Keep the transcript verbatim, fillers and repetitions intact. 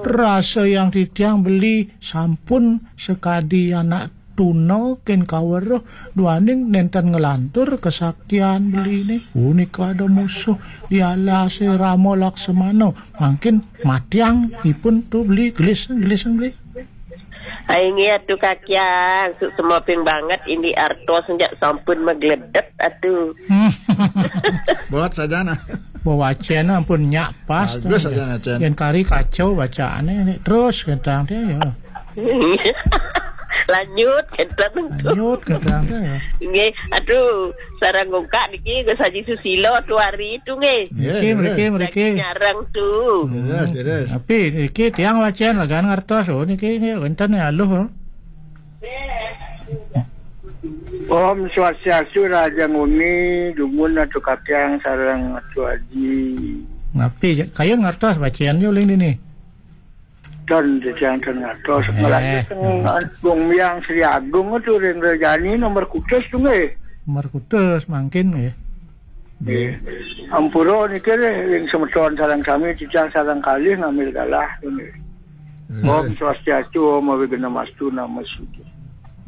Rasa yang titiang beli sampun sakadi anak tuna ken kaweruh duaning nenten nglantur kesaktian beliné. Punika ada musuh di alasé Rama Laksamana. Mangkin matiang ipun tu beli gelis, gelis beli. Ai nggih atuh Kakyang, suksma ping banget indik artos njak sampun magledet atuh. Buat sajana. Bawacén ampun nyak pas. Bagus tuh, sajana, Cén. Yén kari kacau bacaané nih terus kentang téh ya. Lanjut kentang tuh. Lanjut kentang téh ya. Nggih, aduh, sareng ngungkak niki Gus Haji Susilo tuh hari itu nggih. Nggih, mriki, terus. Mriki, mriki. Lagi nyareng tuh. Terus, terus. Tapi niki tiang wacén lagan ngertos, oh niki nggih wénten ya aluh. Oh. Om Swastiastu, Raja Nguni, dumun Atu Kakyang sareng Atu Aji. Napi, kayun ngartos bacén yo uling dini. Ten, titiang ten ngartos. Eh. Ngelanjut teng Agung Miang Sri Agung tu ring Rejani nomor kutus tu nggih. Nomor kutus mangkin nggih. Nggih. Ampura niki ring semeton sareng sami, titiang sareng kalih ngambil galah tu nggih. Om Swastiastu, Om Awighnamastu, Namo Siddham.